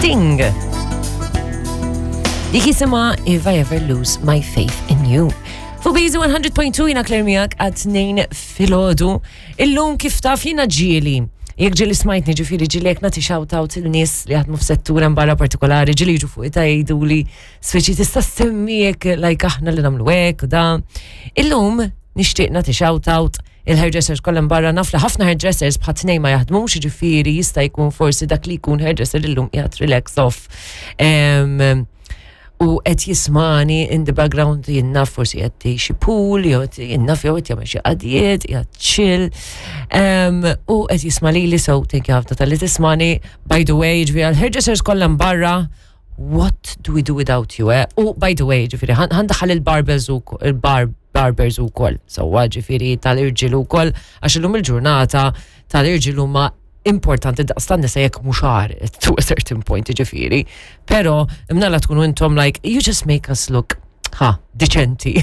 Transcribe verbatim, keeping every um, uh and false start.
Sting. Dik jisimha If I Ever Lose My Faith in You. Fuq Bizu one hundred point two, jiena Claire miegħek għat-tnejn filgħodu. Illum, kif taf, jiena ġieli. Jekk ġieli smajtni, ġifieri ġieli jekk nagħti shout out il-nies li jaħdmu f'settur barra partikolari, ġieli jiġu fuq ita jgħidu li speċi tista' semmi jekk like aħna li nagħmlu hekk u da. Illum nixtieq nagħti shout out il-hairdressers kollha barra. Naf li ħafna hairdressers bħal tnejn ma jaħdmux, ġifieri jista' jkun forsi dak li jkun hairdresser illum qiegħed relax off. Em, u qed jismagħni in the background, jien naf forsi qed xi pool, jew qed jien naf jew qed jagħmel xi qadjiet, qiegħed chill. Um, u qed jisma' lili, so thank you ħafna talli tismagħni. By the way, ġifieri għal hairdressers kollha barra, what do we do without you, eh? U by the way, ġifieri ħa ndaħħal il-barbers u il-bar barbers u koll. So, ġifieri tal-irġiel u koll, għax illum il-ġurnata tal-irġiel huma importanti daqs tan-nisa jekk mhux agħar to a certain point, ġifieri. Pero imnalla tkunu intom like, you just make us look, ha, deċenti.